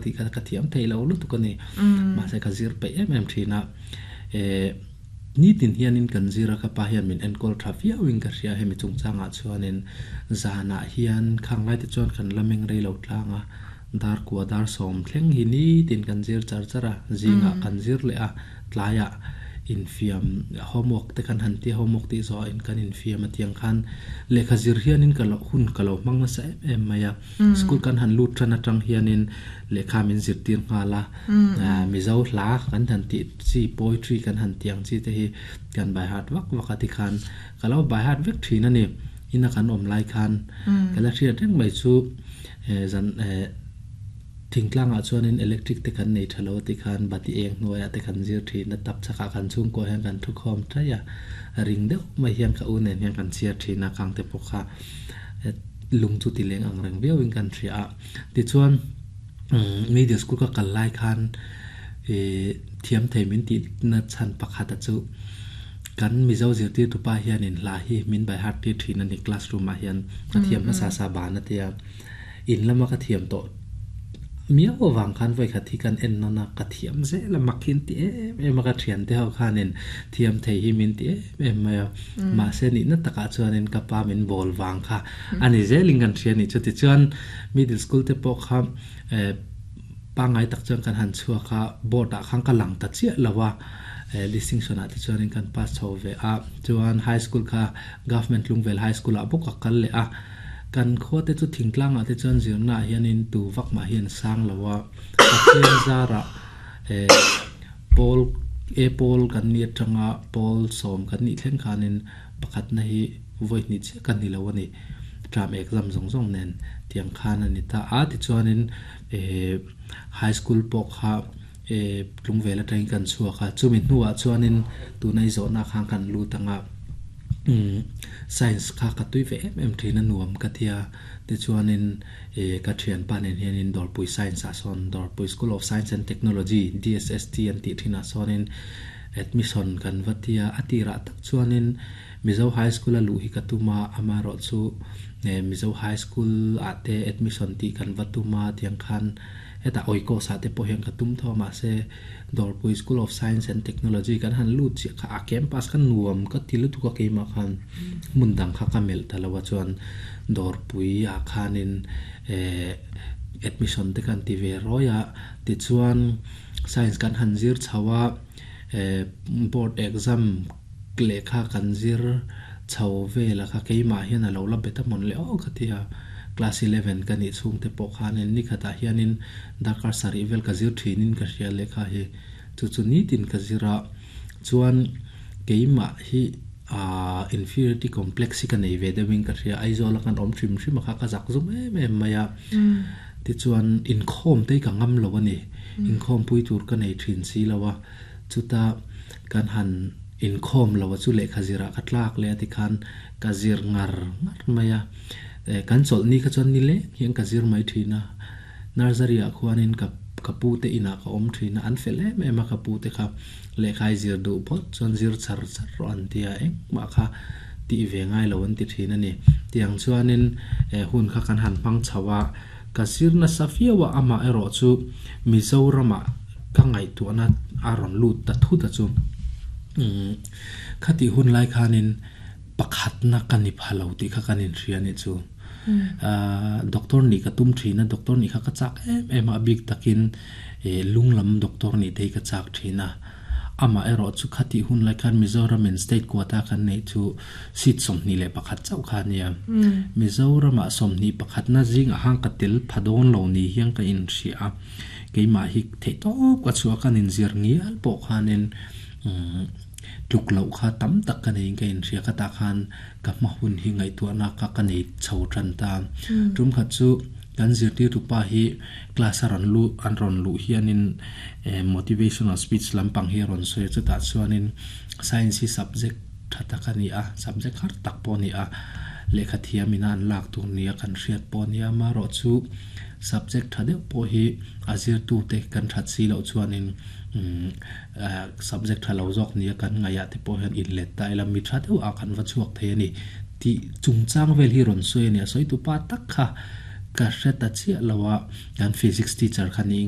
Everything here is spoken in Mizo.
Tih kha ka thiam thei lo lutuk a ni. Mahse ka zir peih em em thin a. Eh, nitin hianin kan zir a, ka pa hian min enkawl tha viauin ka hria hemi chungchangah chuanin zanah hian khang laite chuan kan la meng rei lo tlang a, dar kua dar sawm thleng hi nitin kan zir char char a, zingah kan zir leh a, tlaiah infiam homework te kan han tia homework tih zawh ah kan infiam a tiang khan lehkha zir hianin ka lo hun ka lo hmang nasa em em mai a. School kan han lut tan atang hianin lehkha min zirtir nghal a, Mizo hla kan han tih chi poetry kan han tih ang chi te hi kan by heart vak vak a tikhan ka lo by heart vek thin a ni. Ina kan awm lai khan ka la hriat reng mai chu zan thingtlangah chuanin electric te kan nei tha lo a tikhan bati eng hnuaiah te kan zir thin a, tap chakah kan chhungkua hian kan thukhawm ṭaih a, ring deuh mai hian ka u nen hian kan chhiar thin a kangte pawh kha. lung chu ti leng ang reng viau in kan hria a tichuan middle school ka kal lai khan ih thiam thei min tih na chhan pakhat a chu kan mizo zirtir tupa hian in hla hi min by heart tir thin a ni classroom ah hian a thiam hmasa sa ban a tia in lama ka thiam tawh miau avang khan vawikhat hi kan en nawn a ka thiam zel a mak hi an ti em em a ka thiante ho khanin thiam thei hi min ti em em mai a mahse nihna takah chuanin ka pa min bawl vang kha a ni zelin kan hria a nih chu tichuan middle school te pawh kha eh pangngai tak chuan kan han chhuak a board ah khan ka lang ta chiah lo a eh distinction ah te chuanin kan pass chho ve a chuan high school kha government Lungvel high school ah bawk a kal leh a kan khua te chu thingtlang ah te chuan zirna ah hianin tu vak mah hi an sang lo a Pathian zarah eh Pawl e pawl kan nih atanga pawl sawm kan nih thleng khanin pakhatna hi vawi hnih chiah ka ni lo a ni. Term exam zawng zawng nen tiang khan a ni ta a. Tichuanin eh high school pawh kha eh tlungvel atangin kan chhuak a. Chumi hnuah chuanin tuna i zawhna khan kan lut anga umm science kha ka tui ve em em thin a nuam ka tia. Tichuanin eh ka thianpa nen hianin Dawrpui Science ah sawn Dawrpui School of Science and Technology, DSST an tih thinah sawnin admission kan va ti a, a tirah tak chuanin Mizo High School a luh hi ka tum a, amaherawh chu eh Mizo High School ah te admission tih kan va tum a tiang khan hetah Oikos ah te pawh hian ka tum tho a mahse Dawrpui School of Science and Technology kan han lut chiah kha a campus kha nuam ka ti lutuk a keimah khan hmun dang kha ka melh ta lo a chuan Dawrpui ah khanin eh admission te khan ti ve rawi a tichuan science kan han zir chho a eh board exam lehkha kan zir chho vel a kha keimah hian a lo la bet a mawn leh aw ka ti a class 11 ka nih chhung te pawh khanin nikhatah hianin darkar sarih vel ka zir thinin ka hria lehkha hi chu chu nitin ka zir a chuan keimah hi aah inferiority complex hi ka nei ve deuhin ka hria Aizawl a kan awm hrim hrim a kha ka zak zum em em mai a tichuan inkhawm te hi ka ngam lo a ni inkhawm pui tur ka nei thin si lo a chuta kan han inkhawm lo a chu lehkha zirah ka tlak leh a tikhan ka zir ngar ngar mai a eh kan chawlhni kha chuan ni leng hian ka zir mai thin a. Nursery ah khuanin ka ka pu te inah ka awm thin a, an fel em em a ka pu te kha lehkhai zir duh phawt chuan zir char char rawh an ti a, engmah kha tih ve ngai lo an ti thin a ni. Tiang chuanin eh hun kha kan han hmang chho a, ka zir nasa viau a, amah erawh chu Mizoramah ka ngaihtuahna a rawn lut ta thut a chu. Umm khatih hun lai khanin pakhatna ka ni pha lo tih kha kan inhria a nih chu. Doctor nih ka tum thin a, doctor nih kha ka chak em em a, a bik takin ih lung lam doctor nih te hi ka chak thin a. Amah erawh chu khatih hun lai khan Mizoram in state quota kan neih chu seat 21 chauh kha a nia. Mizoramah 21 na zingah khan ka tel pha dawn lo ni hian ka inhria a, keimah hi theihtawp ka chhuah a, kan inzir ngial pawh khanin umm tluk loh kha tam tak ka neiin ka inhria khatah khan ka hma hun hi ngaihtuahna ka ka nei chho tan ta. Tum khat chu kan zirtirtu pa hi class a rawn luh an rawn luh hianin eh motivational speech lampang hi a rawn sawi a chutah chuanin science hi subject tha tak a ni a subject har tak pawh a ni a lehkha thiam ina an lak tur nia kan hriat pawh a nia amaherawh chu subject tha deuh pawh hi a zirtute kan that si loh chuanin umm Subject tha lo zawk nia kan ngaihah te pawh hian inlet ta ila mi tha deuh ah kan va chhuak thei a ni tih chungchang vel hi rawn sawi a ni. A sawi tu pa tak kha Ka hre ta chiah lo a, kan physics teacher kha niin.